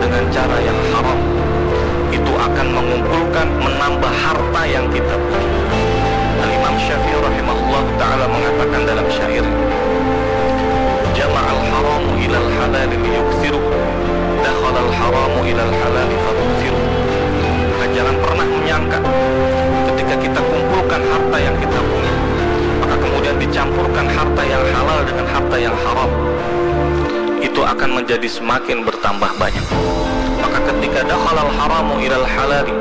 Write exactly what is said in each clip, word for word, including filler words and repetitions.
dengan cara yang haram, itu akan mengumpulkan, menambah harta yang kita punya. Al-Imam Syafi'i rahimahullah ta'ala mengatakan dalam syair, "Jama'al haramu ilal halali liyuksiru, dakhalal haramu ilal halali fabuksiru." Maka jangan pernah menyangka ketika kita kumpulkan harta yang kita punya, maka kemudian dicampurkan harta yang halal dengan harta yang haram, itu akan menjadi semakin bertambah banyak. Maka ketika dakhalal haramu ilal halali,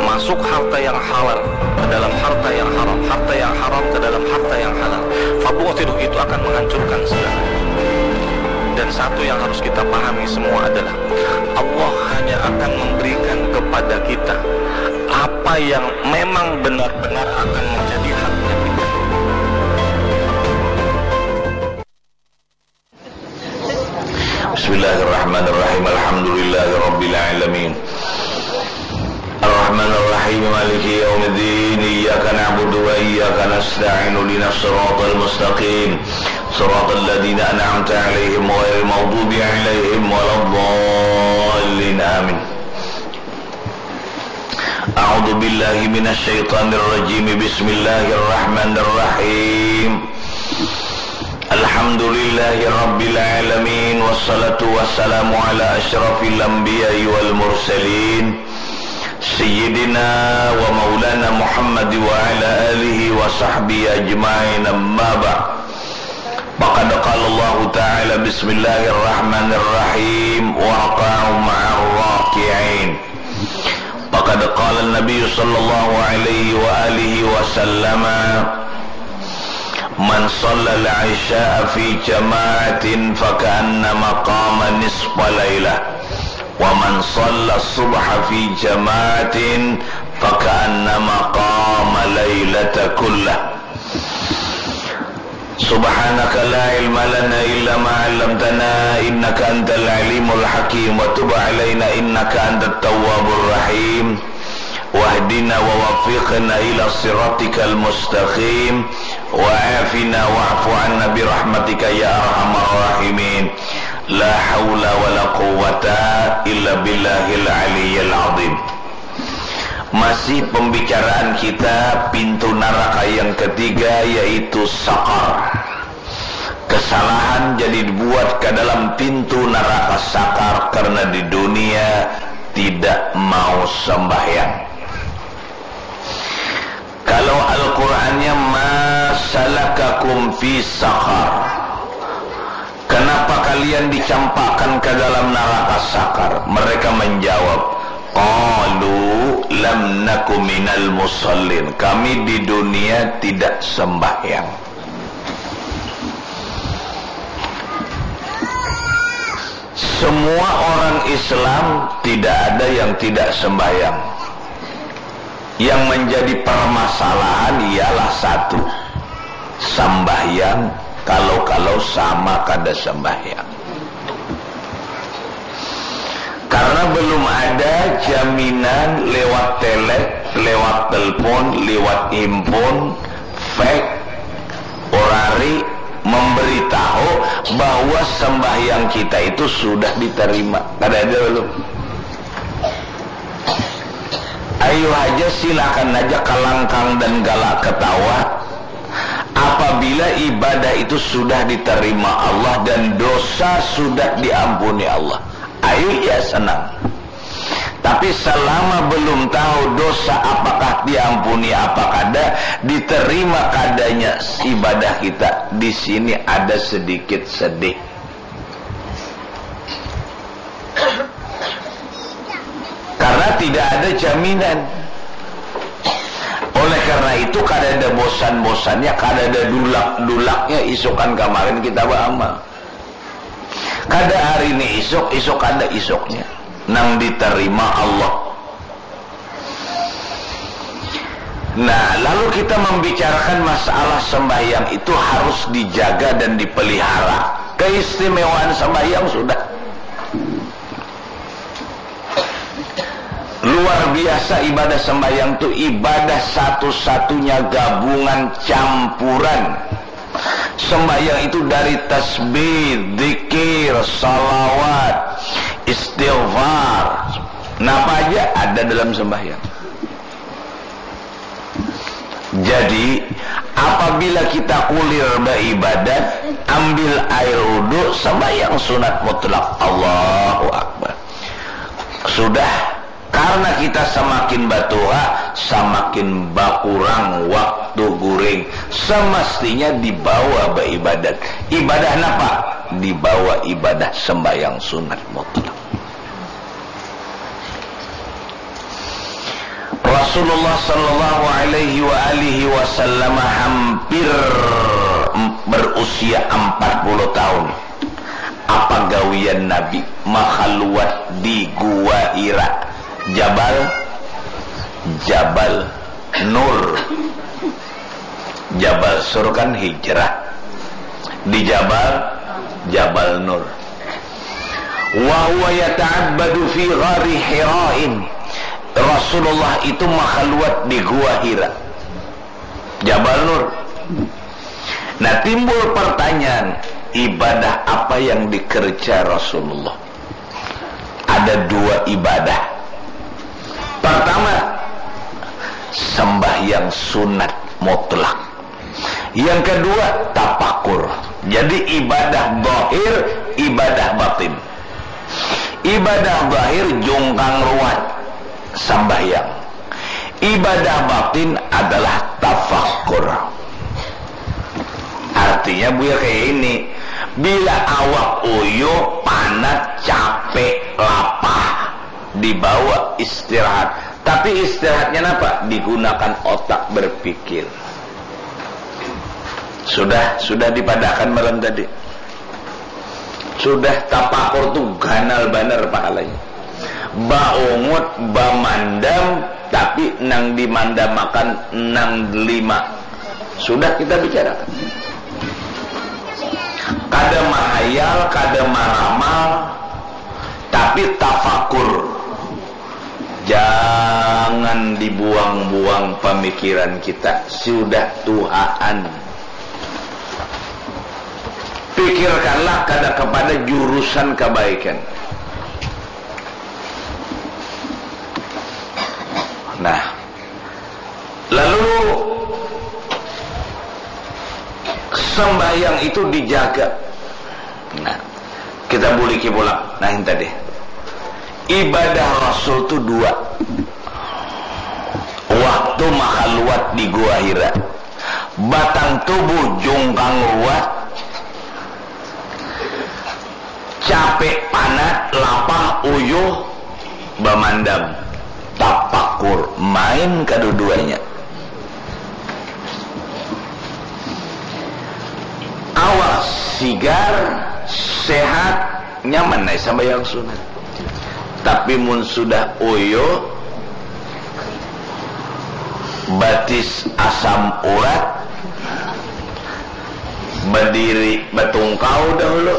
masuk harta yang halal ke dalam harta yang haram, harta yang haram ke dalam harta yang halal, fabu'thiru, itu akan menghancurkan segala. Dan satu yang harus kita pahami semua adalah Allah hanya akan memberikan kepada kita apa yang memang benar-benar akan menjadi haknya kita. Bismillahirrahmanirrahim. Alhamdulillahirabbil alamin. Arrahmanirrahim. Maliki yaumiddin. Iyyaka na'budu wa iyyaka nasta'in. Ihdinas siratal mustaqim. Siratal ladzina an'amta 'alaihim ghairil maghdubi 'alaihim waladdallin. Amin. A'udzu billahi minasy syaithanir rajim. Bismillahirrahmanirrahim. Alhamdulillahi rabbil alamin, wassalatu wassalamu ala asyrafil anbiya'i wal mursalin, sayyidina wa maulana Muhammad wa ala alihi wa sahbihi ajmain, amma ba'd. Faqad qala Allahu ta'ala, bismillahirrahmanirrahim, warka'u ma'ar raki'in. Faqad qala Nabi sallallahu alaihi wa alihi wa sallama, "Man shallal isya'a fi jama'atin faka'annama qama nisfa lailah, wa man shalla subha fi jama'atin faka'annama qama lailata kullah." Subhanaka la ilma lana illa ma 'allamtana innaka antal alimul hakim, wa tub 'alaina innaka antat tawwabur rahim, wahdina wa waffiqna ila siratikal mustaqim, wa afina wa'fu 'anna bi rahmatika ya arhamar rahimin. La haula wa la quwwata illa billahil aliyyil azim. Masih pembicaraan kita pintu naraka yang ketiga, yaitu sakar. Kesalahan jadi dibuat ke dalam pintu naraka sakar karena di dunia tidak mau sembahyang. Kalau Al-Qur'annya, "Ma salakakum fi sakar?" Kenapa kalian dicampakkan ke dalam naraka sakar? Mereka menjawab, qalu lam naku minal musallin. Kami di dunia tidak sembahyang. Semua orang Islam tidak ada yang tidak sembahyang. Yang menjadi permasalahan ialah satu, sambahyang, kalau-kalau sama kada sambahyang. Karena belum ada jaminan lewat telek, lewat telepon, lewat impun, fax, orari memberitahu bahwa sembahyang kita itu sudah diterima. Kada ada belum. Ayu haja, silakan haja kalangkang dan galak ketawa. Apabila ibadah itu sudah diterima Allah dan dosa sudah diampuni Allah, ayu ya senang. Tapi selama belum tahu dosa apakah diampuni apa kada, diterima kadanya ibadah kita, di sini ada sedikit sedih. Karena tidak ada jaminan. Oleh karena itu, kada ada bosan-bosannya, kada ada dulak-dulaknya isukan kamarin kita beramal. Kada hari ini isuk, isuk kada isuknya. Nang diterima Allah. Nah, lalu kita membicarakan masalah sembahyang itu harus dijaga dan dipelihara. Keistimewaan sembahyang sudah luar biasa. Ibadah sembahyang itu ibadah satu-satunya gabungan campuran. Sembahyang itu dari tasbih, zikir, salawat, istighfar, Napa aja ada dalam sembahyang. Jadi, apabila kita kulir beribadat, ambil air wudhu, sembahyang sunat mutlak. Allahu Akbar. Sudah, karena kita semakin batuha, semakin bakurang waktu guring. Semestinya dibawa beribadat. Ibadah napa? Dibawa ibadah sembahyang sunat mutlak. Rasulullah sallallahu alaihi wa alihi wasallam hampir berusia empat puluh tahun. Apa gawian Nabi? Makhaluat di Gua Hira. Jabal, Jabal Nur. Jabal Sur kan hijrah. Di Jabal, Jabal Nur. Wa huwa yata'abbadu fi ghari Hira'in. Rasulullah itu makhaluat di Gua Hira. Jabal Nur. Nah, timbul pertanyaan, ibadah apa yang dikerja Rasulullah? Ada dua ibadah. Pertama, sembahyang sunat mutlak. Yang kedua, tapakur. Jadi, ibadah zahir, ibadah batin. Ibadah zahir, jungkang ruat, sambahyang. Ibadah batin adalah tafakur. Artinya, Buya, kayak ini, bila awak uyuh, panat, capek, lapah, dibawa istirahat. Tapi istirahatnya napa? Digunakan otak berpikir. Sudah, sudah dipadakan malam tadi. Sudah, tapakur tu ganal banar pahalanya. Baungut, bamandam, tapi nang dimandamakan nang lima. Sudah kita bicarakan. Kada mahayal, kada maramal, tapi tafakur. Jangan dibuang-buang pamikiran kita. Sudah tuhaan. Pikirkanlah kada kepada jurusan kebaikan. Nah, lalu sembahyang itu dijaga. Nah, kita buliki pulang. Nah, ini tadi. Ibadah Rasul tu dua. Waktu makhaluat di Gua Hira. Batang tubuh jungkang ruat, capek, panat, lapah, uyuh, bamandam. Tapakur, main kaduduanya. Awak sigar, sehat, nyaman ai sambayang sunat. Tapi mun sudah uyuh, batis asam urat, badiri batungkau dahulu,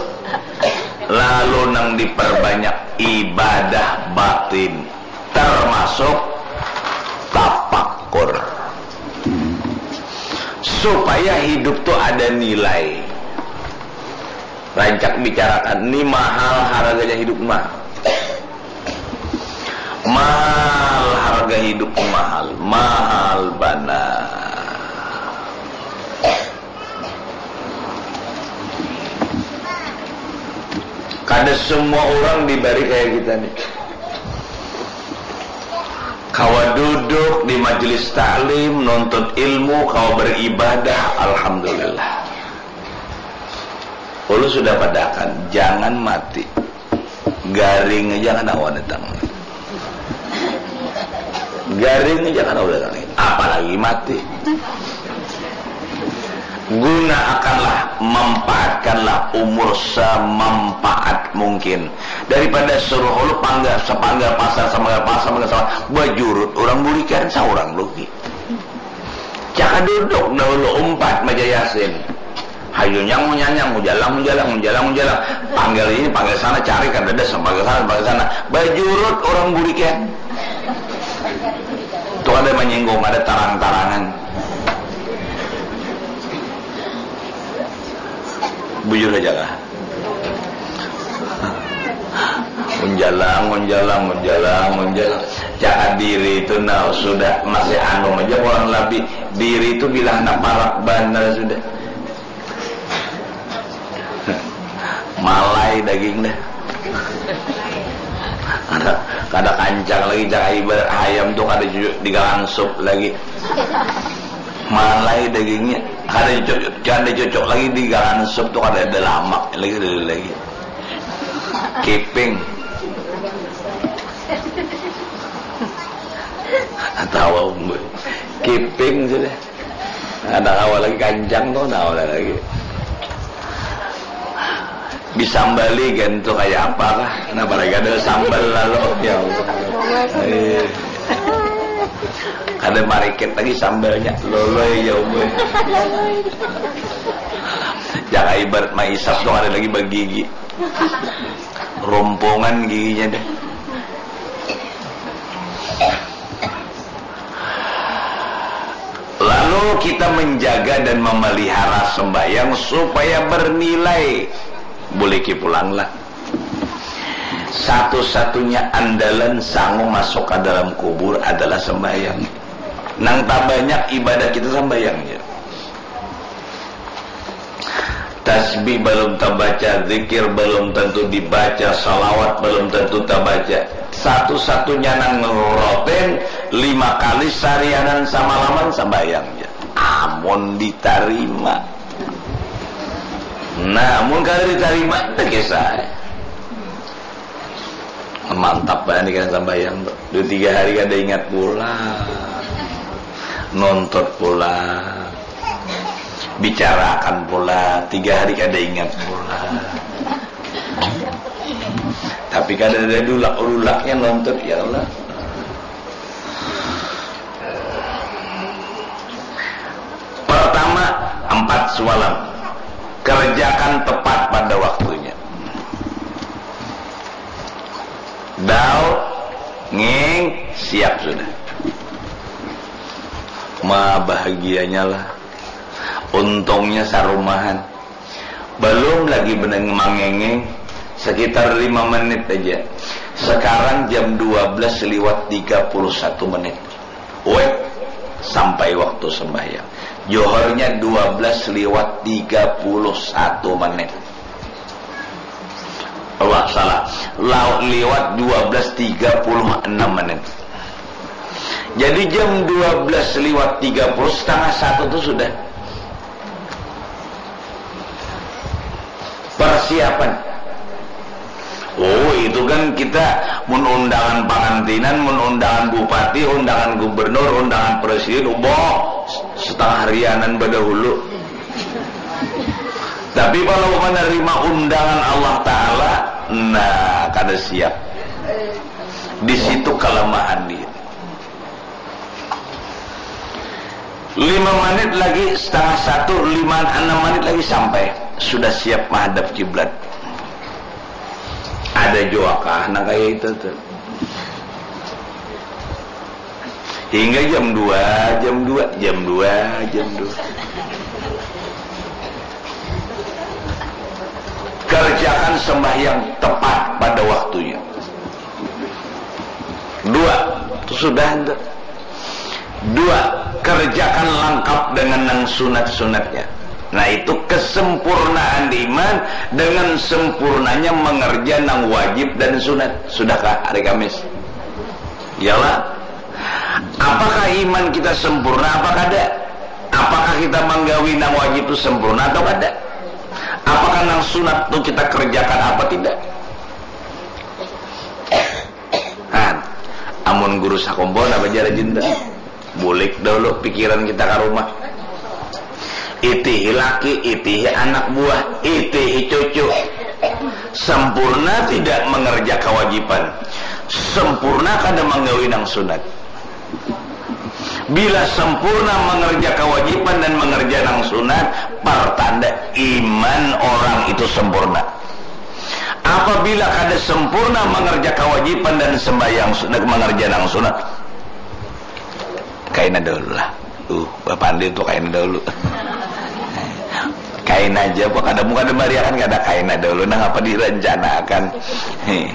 lalu nang diperbanyak ibadah batin, termasuk tapakur. Supaya hidup tu ada nilai. Rancak bicarakan, ni mahal harganya hidup mah. Mahal harga hidup, mahal, mahal banar. Kada semua orang dibari kayak kita nih. Kawa duduk di majelis taklim, nuntut ilmu, kawa beribadah, alhamdulillah. Ulun sudah padakan, jangan mati. Garing aja kan awak datang. Garing aja kan awak datang. Apalagi mati. Gunakanlah, manfaatkanlah umur semanfaat mungkin. Daripada suruh lu pangga, sepangga pasar, sepangga pasar, sepangga pasar, bajurut orang bulikan, saurang rugi. Caka duduk dahulu umpat maca Yasin. Hayu nyang munyanyang, mujalang, mujalang, mujalang, mujalang. Panggil ini, panggil sana, cari kadada, panggil sana, panggil sana. Bajurut orang burikian. Itu ada menyinggung, ada tarang-tarangan. Bujur aja lah. Ngunjalang, ngunjalang, ngunjalang, ngunjalang. Jangan diri itu nah sudah masih anu aja kurang lebih. Diri itu bila anak parak banar sudah. Malai daging dah. Kada, kada kancang lagi, cak ibarat hayam tu kada cucuk di galan sup lagi. Malai dagingnya kada cucuk, kada cucuk lagi di galan sup tu, kada ada lamak lagi, kada ada lagi. Kiping. Atawa umur. Kiping sudah. Ada kawa lagi kancang tu, ada kawa lagi. Disambali kan tu kaya apa kah? Nah, barang ada sambal lalu. Ya Allah. Eh. Ada marikit lagi sambalnya. Loloi ya umur. Jangan ibarat maisap tu ada lagi bagigi. Rompongan giginya deh. Lalu kita menjaga dan memelihara sembahyang supaya bernilai. Buliki pulanglah. Satu-satunya andalan sangu masuk ke dalam kubur adalah sembahyang. Nang tabanyak ibadah kita sembahyang je. Tasbih belum terbaca, zikir belum tentu dibaca, salawat belum tentu terbaca. Satu-satunya nang rutin lima kali sarianan samalaman sambayang ja. Amun ditarima. Nah, mun kada ditarima, dah kisah. Mantap banget nih kan sambayang tuh. Dua tiga hari kada ingat pulang. Nuntut pulang. Bicarakan pulang. Tiga hari kada ingat pulang. Tapi kada ada dulak-dulaknya nuntut, ya Allah. Pertama, empat semalam. Kerjakan tepat pada waktunya. Dal, nging, siap sudah. Ma, bahagianya lah. Untungnya sarumahan. Belum lagi benang mangengeng, sekitar lima menit aja. Sekarang jam dua belas lewat tiga puluh satu menit. Weh, sampai waktu sembahyang. Johornya dua belas lewat tiga puluh satu menit. Allah, salah. Lau-, lewat dua belas tiga puluh enam menit. Jadi jam dua belas lewat tiga puluh, setengah satu tuh sudah. Persiapan. Oh, itu kan kita mun undangan pangantinan, mun undangan bupati, undangan gubernur, undangan presiden, uboh, setengah harianan badahulu. Tapi kalau menerima undangan Allah Ta'ala, nah, kada siap. Di situ kelemahan dia. Lima menit lagi, setengah satu, lima, enam menit lagi sampai. Sudah siap menghadap kiblat. Ada jua kah nang kayak itu tuh. Hingga jam dua, jam dua, jam dua, jam dua. Kerjakan sembahyang tepat pada waktunya. Dua, itu sudah ente. Dua, kerjakan lengkap dengan nang sunat-sunatnya. Nah, itu kesempurnaan iman dengan sempurnanya mengerja nang wajib dan sunat. Sudahkah hari Kamis? Iyalah. Apakah iman kita sempurna apa kada? Apakah kita manggawi nang wajib itu sempurna atau kada? Apakah nang sunat itu kita kerjakan apa tidak? Nah, amun guru sakumpul apa jar Jinda? Bulik dahulu pikiran kita ke rumah. Itihi laki, itihi anak buah, itihi cucu. Sempurna tidak mengerja kewajiban. Sempurna kada manggawi nang sunat. Bila sempurna mengerja kewajiban dan mengerja nang sunat, pertanda iman orang itu sempurna. Apabila kada sempurna mengerja kewajiban dan sembahyang sunat, mengerja nang sunat, kaina dahulu lah. Uh, bapandir tuh kaina dahulu. Kaina aja, apa kada muka ada bariakan, kada kaina dahulu. Nah, apa direncanakan? Heh.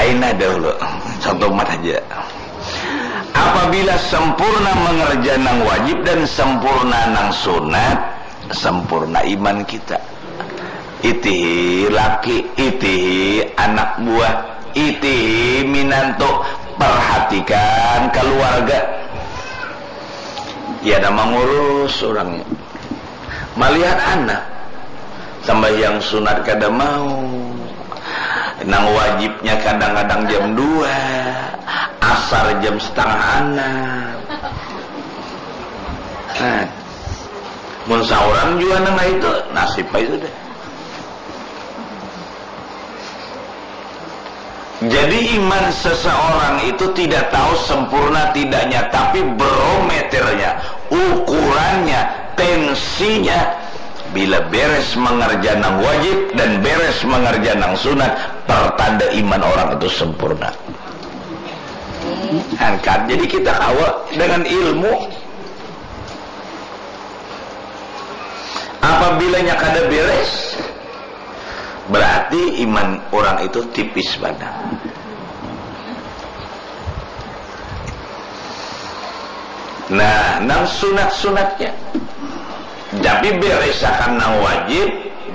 Aina dahulu, contoh mat haja. Apabila sempurna mengerja nang wajib dan sempurna nang sunat, sempurna iman kita. Itihi laki, itihi anak buah, itihi minantu, perhatikan keluarga. Ya, ada mengurus orangnya. Malihat anak, sambahyang sunat kada mau, nang wajibnya kadang-kadang jam dua, asar jam setengah anam. Nah, mun saurang jua nang itu, nasib ai sudah. Jadi, iman seseorang itu tidak tahu sempurna tidaknya, tapi barometernya, ukurannya, tensinya, bila beres mengerja nang wajib dan beres mengerja nang sunat, pertanda iman orang itu sempurna. Angkat. Jadi, kita kawa dengan ilmu. Apabilanya kada beres, berarti iman orang itu tipis banar. Nah, nang sunat-sunatnya. Tapi beresakan nang wajib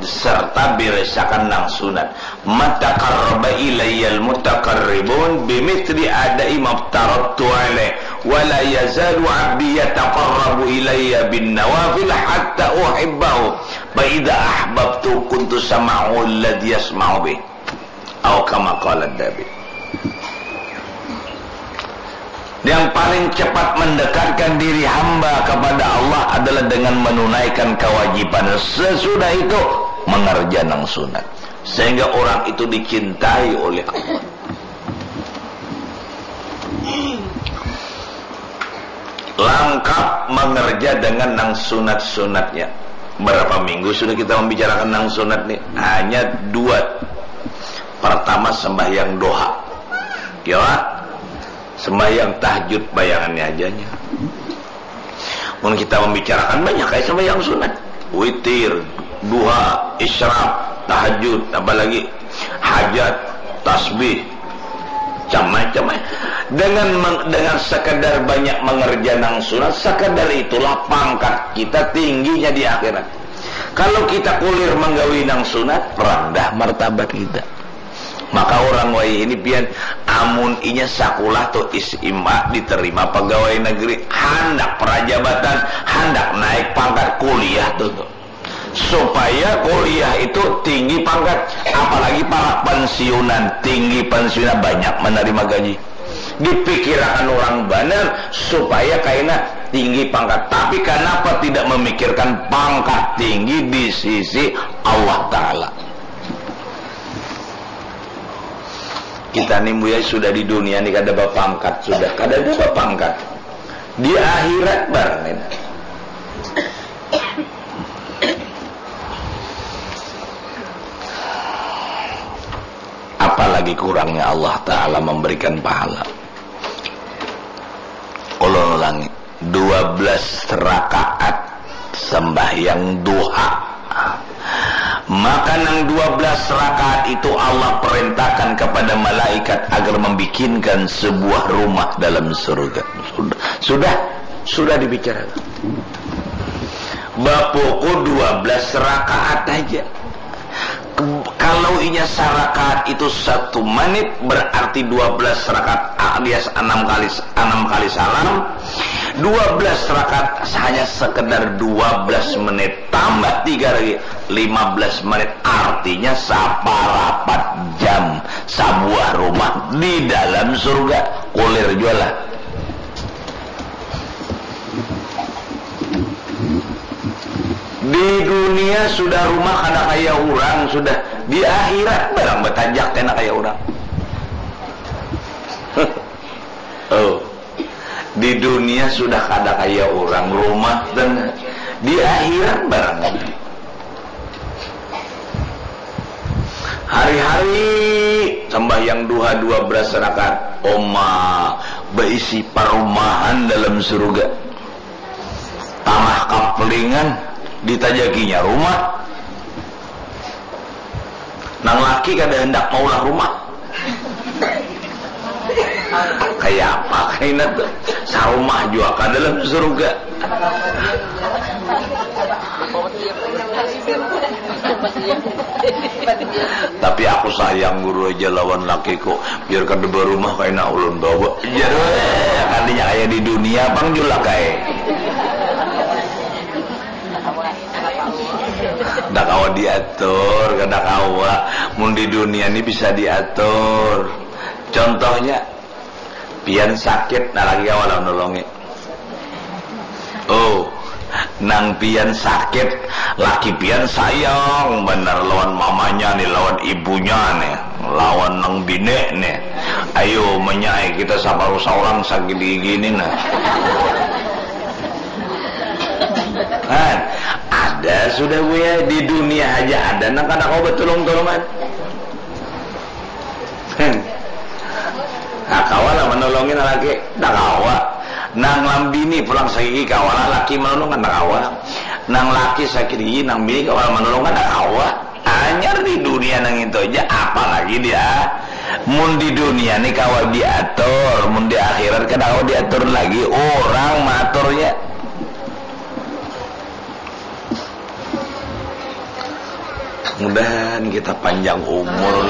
serta beresakan nang sunat. "Ma taqarraba ilayyal mutaqarribun bimithli ada'i maftaradtu alaih, wa la yazalu abdi yataqarrabu ilayya bin nawafil hatta uhibbahu, fa idza ahbabtu kuntu sam'ahu alladzi yasma'u bih." Au kama qala Nabi. Yang paling cepat mendekatkan diri hamba kepada Allah adalah dengan menunaikan kewajiban. Sesudah itu, mengerja nang sunat. Sehingga orang itu dicintai oleh Allah. Langkap mengerja dengan nang sunat-sunatnya. Berapa minggu sudah kita membicarakan nang sunat nih? Hanya dua. Pertama, sembahyang doha. Ya, sembahyang tahajud, bayangannya aja nya. Mun kita membicarakan, banyak ai sembahyang sunat. Witir, duha, isyraq, tahajud, apa lagi? Hajat, tasbih, macam-macam ai. Dengan meng-, dengan sekadar banyak mengerja nang sunat, sekadar itulah pangkat kita tingginya di akhirat. Kalau kita kulir menggawi nang sunat, rendah martabat kita. Maka orang wayah ini pian, amun inya sakulah tu S M A diterima pegawai negeri, handak prajabatan, handak naik pangkat, kuliah tu, tu. Supaya kuliah itu tinggi pangkat, apalagi para pensiunan, tinggi pensiunan banyak menerima gaji. Dipikirakan orang banar supaya kaina tinggi pangkat. Tapi kenapa tidak memikirkan pangkat tinggi di sisi Allah Ta'ala? Kita ni, Buya, sudah di dunia ni kada bapangkat, sudah kada ada bapangkat. Di akhirat barang ini. Apalagi kurangnya Allah Ta'ala memberikan pahala. Ulun ulangi, dua belas rakaat sembahyang duha. Maka nang dua belas rakaat itu Allah perintahkan kepada malaikat agar membikinkan sebuah rumah dalam surga. Sudah, sudah, sudah dibicarakan. Bapuku dua belas rakaat aja. Ke-, kalau inya sarakaat itu satu menit, berarti dua belas rakaat alias enam kali, enam kali salam. Dua belas rakaat hanya sekedar dua belas menit, tambah tiga lagi, lima belas menit. Artinya saparapat jam, sabuah rumah di dalam surga. Kulir jua lah. Di dunia sudah rumah kada kaya urang, sudah di akhirat barang batajak kena kaya urang. Oh, di dunia sudah kada kaya urang, rumah dan di akhirat barang. Hari-hari sambahyang duha dua belas rakaat. Oma, baisi parumahan dalam surga. Tanah kaplingan ditajakinya rumah. Nang laki kada hendak maulah rumah. Kayak apa kaina tuh? Sarumah juga ke dalam surga. Tapi aku sayang guru aja lawan lakiku. Biar kada berumah kaina ulun bawa. Jadi kadinya kayak di dunia pang julak kayak. Kada kawa diatur, kada kawa. Mun di dunia ni bisa diatur. Contohnya, pian sakit, nah laki kawa lah menolongi. Oh, nang pian sakit, laki pian sayang benar lawan mamanya nih, lawan ibunya nih, lawan nang bini nih. Ayo menyai kita sabaru seorang sakit gigi nih nah. Kan ada sudah gue di dunia aja ada nang kada kau betulung-tulungan. Hmm. Nah, kawa lah menolongin laki, tak kawa. Nang lambini pulang sakiki kawa lah laki menolong kan tak kawa. Nang laki sakit gigi nang bini kawa lah menolong kan tak kawa. Anyar di dunia nang itu aja, apalagi dia mun di dunia ni kawa diatur, mun di akhirat kan kawa diatur lagi, orang maturnya. Mudahan kita panjang umur,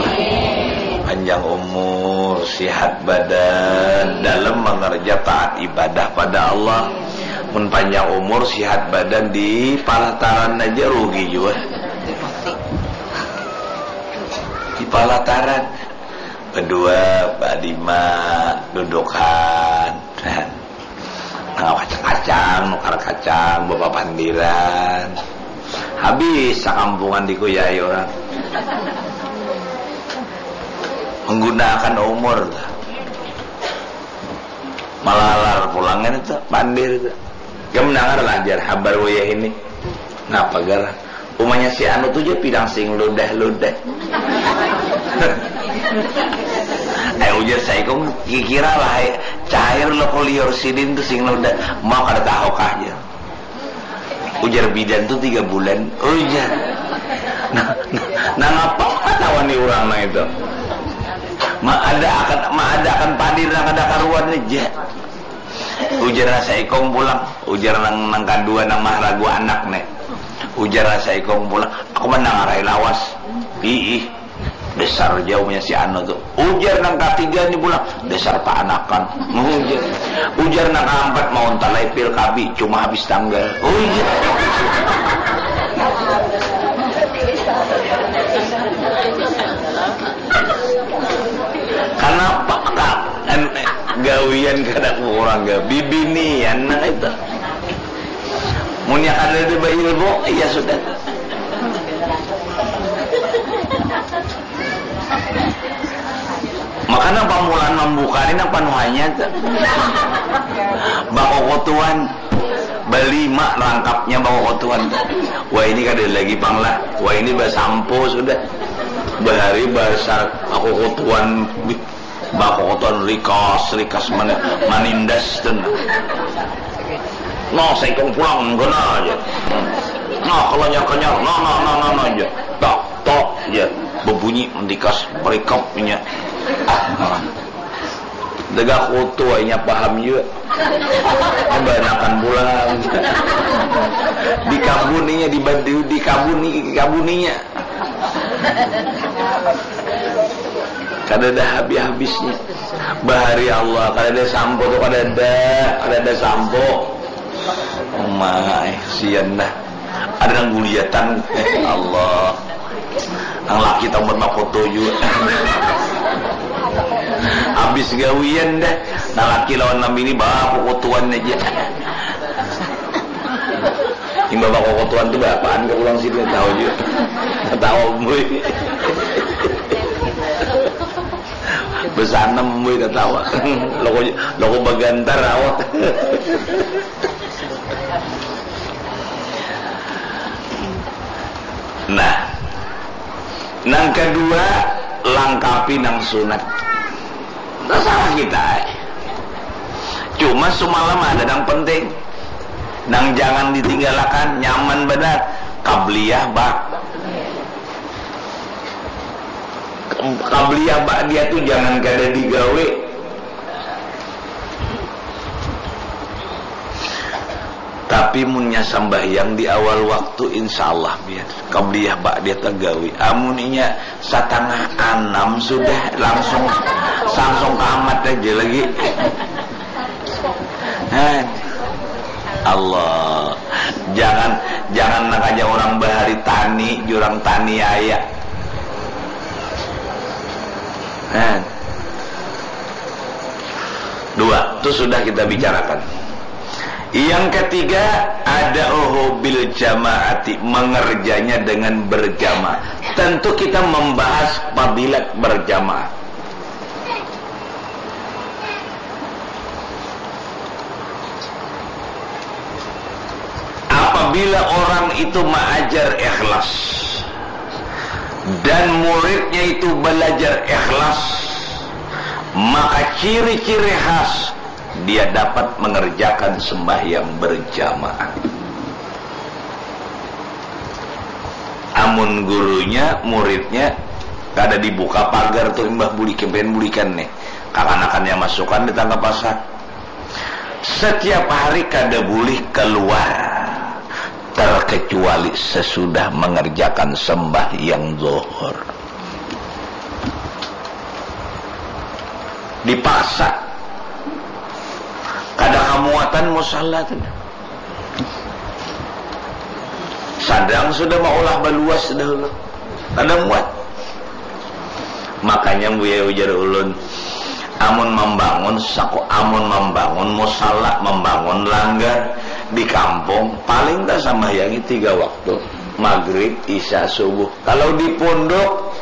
panjang umur, sihat badan dalam mengerja taat ibadah pada Allah. Mun panjang umur, sihat badan di palataran aja rugi juga. Di palataran berdua, berlima, dudukan. Nang kacang-kacang, nukar kacang, bapapandiran. Habis sakampungan dikuyai orang. Menggunakan umur tuh. Malalar pulangan itu, pandir itu. Kamu dengar lah jar habar wayah ini. Ngapa gar? Umanya si anu tuh je pidang sing ludah-ludah. Ayo ujar saikung kikira lah, cair lo kuliur sidin tuh sing ludah. Mau kada tahu kah je? Ujar bidan tuh tiga bulan. Ujar. Nah, nah, nah ngapa ketahuan nih orang nah itu? Ma ada akan ma ada akan padir nang kada karuan aja. Ujar nang saikung pulang, ujar nang nang kadua nang maharagu anak nih. Ujar nang saikung pulang, aku menang arai lawas. Ih, dasar jauhnya si anu tuh. Ujar nang katiga nih pulang, dasar paanakan. Ujar, ujar nang kaampat mau talai pil kabi, cuma habis tanggal. Ujar. Kenapa kak? Gawian kada kurang gawi binian nang itu. Munnya kada ada berilmu, iya sudah. Makanya pamulaan membuka ini nang panuhanya tuh. Bakokotuan. Balima rangkapnya bakokotuan tuh. Wah ini kada lagi panglah. Wah ini basampo sudah. Bahari basar aku kotuan. Bakokotan rikas rikas mana manindas tu nah. Nah saikung pulang kena aja. Nah kalau nyar kenyar nah nah nah nah nah aja. Tok tok aja. Berbunyi mentikas berikap punya. Nah. Degah kutu inya paham juga. Banakan pulang. Dikabuninya dibadi dikabuni dikabuninya. Kada ada habis-habisnya. Bahari Allah, kada ada sampo tu, kada ada, kada ada sampo. Umai, sian dah. Ada nang guliatan, eh, Allah. Nang laki tambah makoto juga. Habis gawian dah. Nang laki lawan nang bini bakukutuan aja. Imbah bakokotuan tu bapaan ka pulang sini tahu juga. Tahu bui. Besanem bui tatawa. Loko loko bagantar awak. Nah, nang kedua langkapi nang sunat. Nggak salah kita. Cuma semalam ada yang penting, nang jangan ditinggalakan, nyaman benar. Kabliyah ba. Qabliyah ba'diyah tu jangan kada digawi. Tapi munnya sambahyang di awal waktu, insya Allah biar qabliyah ba'diyah tagawi. Amun inya satangah anam sudah langsung, langsung kamat aja lagi. Nah, Allah, jangan, jangan nang aja orang bahari tani, jurang tani aya. Nah. Dua, itu sudah kita bicarakan. Yang ketiga, ada bil jamaati, mengerjanya dengan berjamaah. Tentu kita membahas fadilat berjamaah. Apabila orang itu maajar ikhlas dan muridnya itu belajar ikhlas, maka ciri-ciri khas dia dapat mengerjakan sembahyang berjamaah. Amun gurunya, muridnya kada dibuka pagar tuh, imbah bulik, pengen bulikan nih, kakanakannya masukan di tangga pasar. Setiap hari kada boleh keluar terkecuali sesudah mengerjakan sembahyang zuhur. Dipaksa, kada kamuatan musala tu. Sadang sudah maulah baluas dahulu, kada muat. Makanya buya ujar ulun, amun mambangun saku, amun mambangun musala, mambangun langgar di kampung, paling tak sambahyangi tiga waktu, maghrib, isya, subuh. Kalau di pondok,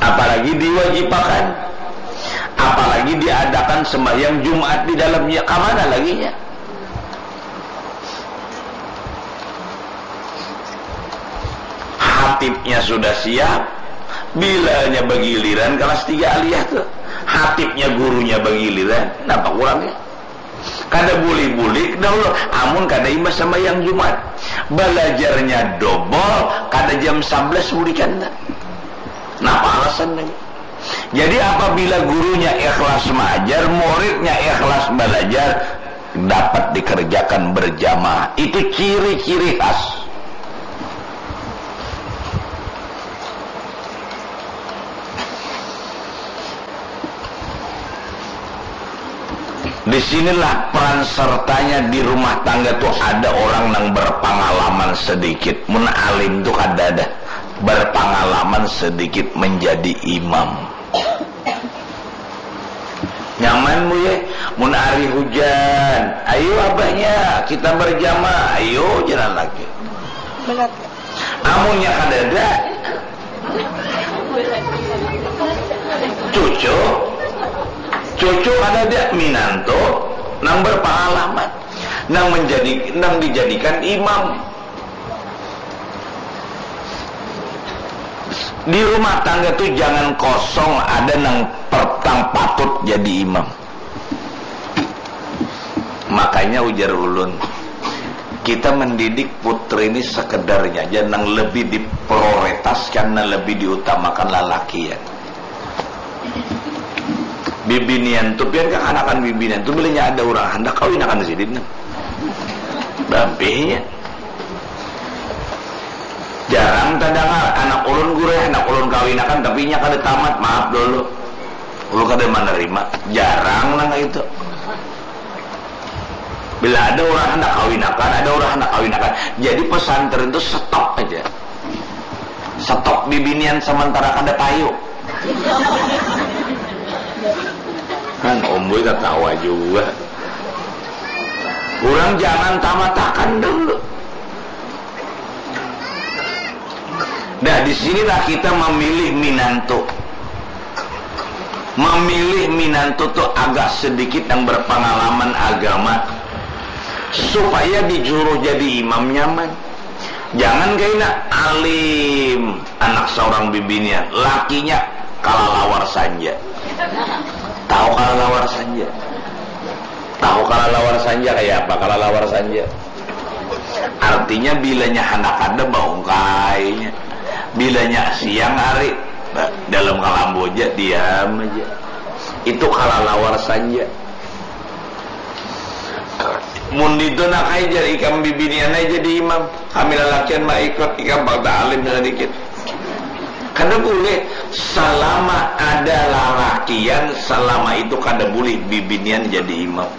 apalagi diwajibakan, apalagi diadakan sembahyang Jumat di dalamnya, kamana laginya? Hatibnya sudah siap, bilanya bagiliran kelas tiga aliyah tu. Hatibnya, gurunya bagiliran, napa kurangnya? Kada bulik-bulik dahulu, amun kada imbah sambahyang Jumat. Balajarnya dobol, kada jam sablas bulikan. Napa alasan lagi? Jadi, apabila gurunya ikhlas maajar, muridnya ikhlas balajar, dapat dikerjakan berjamaah. Itu ciri-ciri khas. Di sinilah peran sertanya di rumah tangga tu ada orang nang berpangalaman sedikit. Mun alim tu kada ada. Berpangalaman sedikit menjadi imam. Nyaman, Bu, ya? Mun hari hujan, ayo abahnya, kita berjamaah, ayo jalan lagi. Benar. Amunnya kadada, cucu, cucu kadada, minantu nang berpengalaman, nang menjadi, nang dijadikan imam. Di rumah tangga tu jangan kosong ada nang pertang patut jadi imam. Makanya ujar ulun, kita mendidik putri ini sekedarnya aja, nang lebih diprioritaskan, nang lebih diutamakan lalaki ya. Bibinian tu pian kakanakan bibinian tu bilanya ada urang handak kawinakan sidin nang. Bampihnya. Jarang tadangar anak ulun guru, anak ulun kawinakan tapi inya kada tamat, maaf dulu. Ulun kada menerima. Jarang nang itu. Bila ada urang handak kawinakan, ada urang handak kawinakan. Jadi pesantren tu stop aja. Stop bibinian sementara kada payu. Kan Om Boy tatawa juga. Urang jangan tamatakan dulu. Nah, di sinilah kita memilih minantu. Memilih minantu tu agak sedikit yang berpengalaman agama, supaya disuruh jadi imam nyaman. Jangan kaina alim, anak seorang bibinian, lakinya kalalawar sanja. Tahu kalalawar sanja? Tahu kalalawar sanja kaya apa? Kalalawar sanja artinya bilanya handak kada baungkainya. Bilanya siang hari, dalam kalambu aja, diam aja. Itu kalalawar saja. Mun itu nak aja ikam bibinian aja jadi imam, kami lalakian mah ikut ikam bang alim sedikit. Kada boleh. Selama ada lalakian, selama itu kada boleh bibinian jadi imam.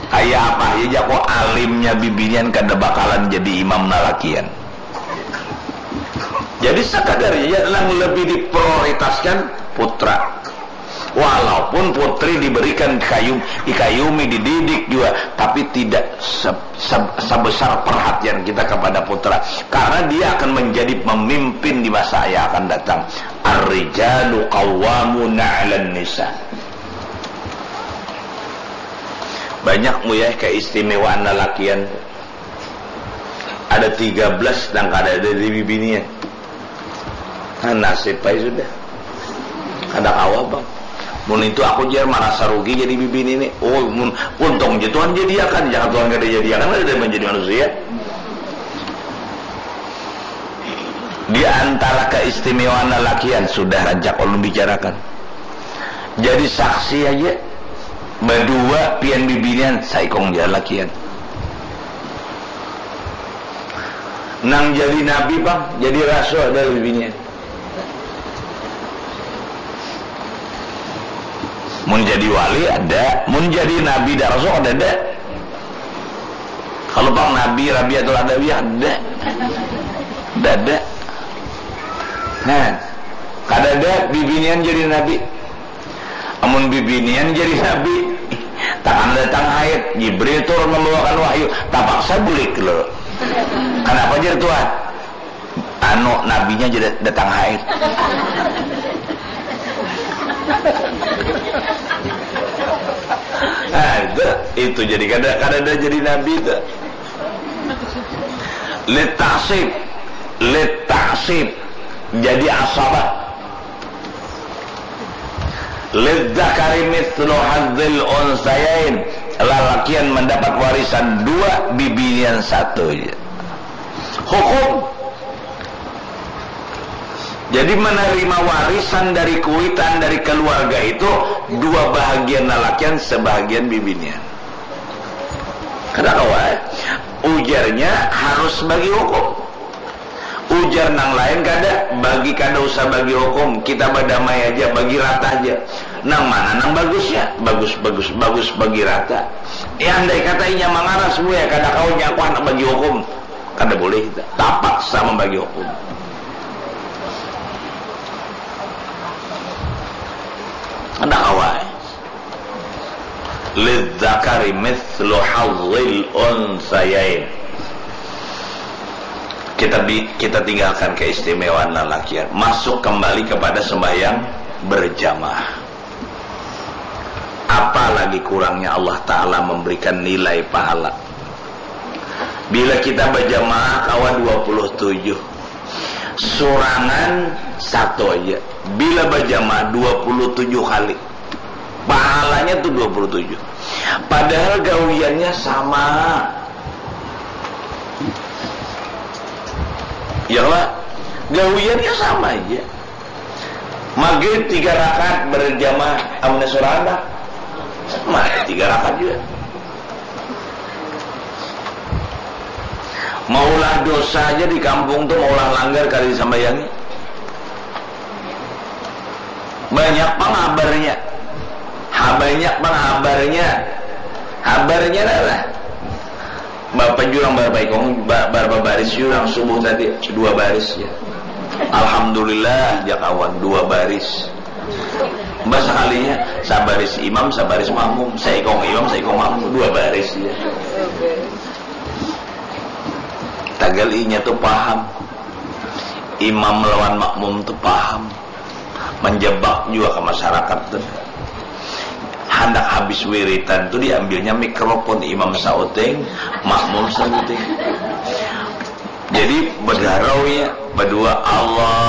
Kayak apa aja jako alimnya bibinian kada bakalan jadi imam lalakian. Jadi sekadarnya yang lebih diprioritaskan putra. Walaupun putri diberikan kayum, dikayumi, dididik juga, tapi tidak se- se- sebesar perhatian kita kepada putra, karena dia akan menjadi pemimpin di masa yang akan datang. Ar-rijalu qawwamuna 'alan nisa. Banyak mu ya keistimewaan lalakian. Ada tiga belas nang kada ada di bibinian. Nah, nasib ai sudah. Kada kawa bang. Mun itu aku jar marasa rugi jadi bibini ni. Oh, mun untung je Tuhan jadiakan, jangan Tuhan kada jadiakan kada menjadi manusia. Di antara keistimewaan lalakian sudah rancak ulun bicarakan. Jadi saksi aja. Badua pian bibinian, saikung ja lakian. Nang jadi nabi pang, jadi rasul ada bibinian. Mun jadi wali ada, mun jadi nabi dan rasul ada ada. Kalau pang nabi Rabiatul Adawiyah ada, ada ada. Nah, kada ada bibinian jadi nabi. Amun bibinian jadi nabi, takkan datang haid, Jibril turun membawakan wahyu, tapaksa bulik lo. Kenapa jadi tuan? Anu, nabinya jadi datang haid. Nah, itu, itu jadi kada kada ada jadi nabi itu. Litasib, litasib jadi asabah. Lidzakari mithlu hadzil unsayain, lalakian mendapat warisan dua, bibinian satu. Hukum. Jadi menerima warisan dari kuitan dari keluarga itu dua bahagian lalakian, sebahagian bibinian. Kada kawa, eh? Ujarnya harus bagi hukum. Ujar nang lain kada, bagi kada usah bagi hukum, kita badamai aja, bagi rata aja. Nang mana nang bagusnya? Bagus, bagus, bagus, bagi rata. Ya andai kata inya mangaras buya kada kawa nya aku handak bagi hukum. Kada boleh kita. Tapaksa membagi hukum. Kada kawa. Lidzakari mithlu hadzil unsayain. Kita bi- kita tinggalkan keistimewaan lalakian. Masuk kembali kepada sembahyang berjamaah. Apa lagi kurangnya Allah Ta'ala memberikan nilai pahala. Bila kita berjamaah kawa dua puluh tujuh. Surangan satu aja. Bila berjamaah dua puluh tujuh kali. Pahalanya tuh dua puluh tujuh. Padahal gawiannya sama. Ya lah, gawiannya sama aja. Maghrib tiga rakaat berjamaah, amun surangan, sama tiga rakaat juga. Maulah dosa aja di kampung tuh, maulah langgar kada disambayangi. Banyak pang habarnya. Ha, banyak pang habarnya. Habarnya lah. Bapak jurang berapa ikong, ba- berapa baris jurang subuh tadi? Dua baris ya. Alhamdulillah, ja kawan, dua baris. Bah sekalinya, sabaris imam, sabaris makmum, saikong imam, saikong makmum, dua baris ya. Tagal inya tuh paham. Imam lawan makmum tuh paham. Menjebak juga ke masyarakat tuh. Handak habis wiritan tuh diambilnya mikrofon, imam sauting, makmum sauting. Jadi berdarau ya, berdua Allah